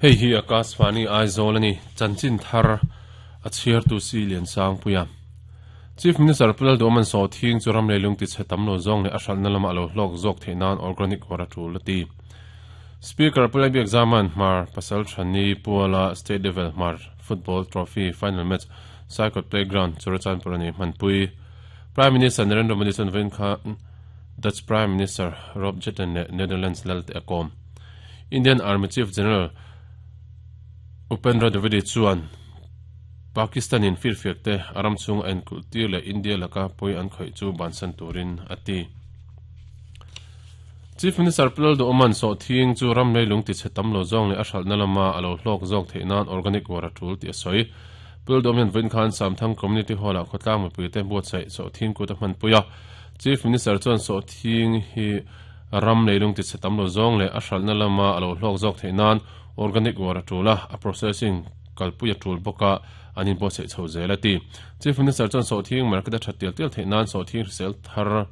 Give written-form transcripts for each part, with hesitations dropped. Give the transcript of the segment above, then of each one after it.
Hei hi Akashvani Aizawl a ni, chanchin thar a chhiartu si Liansangpuia. Chief Minister Pu Lalduhawman Sawhthing chu ram leilung tichhe tam lo zawng leh a hralhna lama a lo hlawk zawk theih nan organic war a tul a ti. Speaker Pu Lalbiakzaman Hmar Pasal Thani Puala State Level Hmar Football Trophy Final Match Saikawt Playground Churachandpur a nei hmanpui. Prime Minister Narendra Modi chuan vawiin khan Dutch Prime Minister Rob Jetten leh Netherlands lal te a kawm. Indian Army Chief General Upendra Dwivedi chuan Pakistan in firfiak te a ram chhung a enkulh tir leh India laka pawi an khawih chu bansan turin a ti. Chief Minister Pu Lalduhawman sawhthing chu ram leilung tichhe tam lo zawng leh a hralhna lama a lo hlawk zawk theih nan organic war a tul tih a sawi. Pu Lalduhawm hian vawiin khan Samthang Community Hall-ah khawtlang mipuite buatsaih sawhthing kut a hmanpui a. Chief Minister chuan sawhthing hi ram leilung tichhe tam lo zawng leh a hralhna lama a lo hlawk zawk theih nan organic war a tul a, a processing kalpui a tul bawk a, an inbuatsaih chho zel a ti. Chief Minister chuan sawhthing market a that tial tial theih nan sawhthing hrisel thar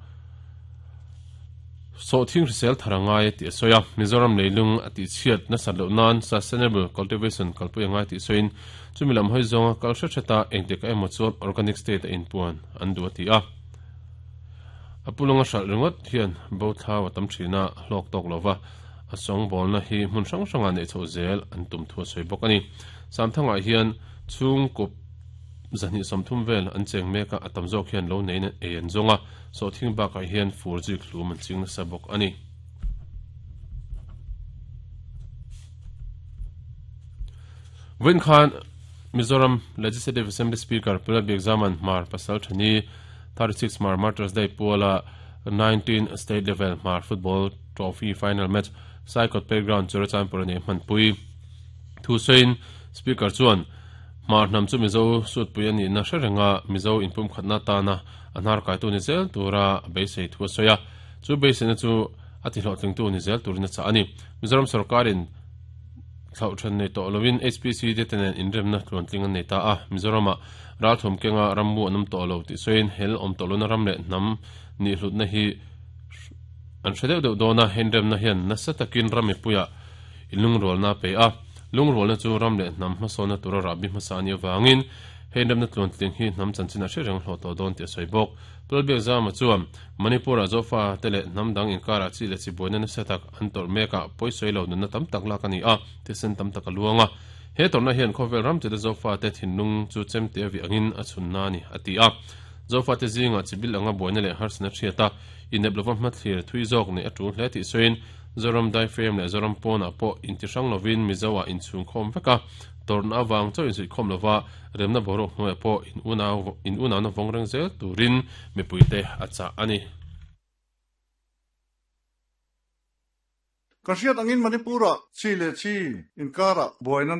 Sawhthing hrisel thar a ngai tih a sawi a, Mizoram leilung a tihchhiat nasat loh nan sustainable cultivation kalpui a ngai tih sawiin chumi lam hawi zawnga kal hret hreta engtikah emaw chuan organic state a inpuan an duh a ti a. A pulunga hralh ringawt hian bo thlau a tam thin a, hlawk tawk lova a sawngbawlna hi hmun hrang hrangah neih chhoh zel an tum thu a sawi bawk a ni. Samthangah hian chhungkup 230 vel an cheng mek a, a tam zawk hian lo neiin ei an zawng a, sawhthing bakah hian fur zik hlum an ching nasa bawk a ni. Vawiin khan Mizoram Legislative Assembly Speaker Pu Lalbiakzaman Hmar Pasal Thani 36 Hmar Martyrs Day puala 19 State Level Hmar Football Trophy Final Match Saikawt Playground Churachandpur a nei hmanpui. Thu sawiin Speaker chuan Hmar hnam chu Mizo sutpui a nihna hre renga Mizo inpumkhatna atana a hnar kaitu ni zel tura a beisei thu a sawi a, chu beiseina chu a tihlawhtlingtu ni zel turin a chah a ni. Mizoram sorkarin thlauh then nei tawh loin HPC te te nen inremna tluantling an nei ta a, Mizoramah ralthawm kenga rammu an awm tawh lo tih sawiin hel awm tawh lohna ram leh hnam nihhlutna hi an hre deuh deuh dawn a, inremna hian nasa takin ram mipuiah inlungrualna a pe a. Lungrualna chu ram leh hnam hmasawnna tura rahbi hmasa a nih avangin hei inremna tluantling hi hnam chanchin a hre reng hlawh tawh dawn tih a sawi bawk. Lalbiakzama chuan Manipur-ah Zofa te leh hnam dang inkarah chi leh chi buaina nasa tak an tawrh mekah pawisawi lo nunna tam tak lak a ni a, thisen tam tak a luang a. He tawrhna hian khawvel ram tila Zofa te thinlung chu chemte a vih angin a chhunna a ni, a ti a. Zofa te zingah chibil anga buaina leh harsatna hriat a, inep lova hmathlir thui zawk neih a tul hle tih sawiin Zoram daifrem leh Zoram pawnah pawh intihrang lovin Mizo ah inchhungkhawm vek a, tawrhna avang chauh insuihkhawm lova remna boruak hnuaiah pawh in unau in unauna vawng reng zel turin mipuite a chah a ni. Ka hriat angin Manipur-ah chi leh chi inkarah buaina.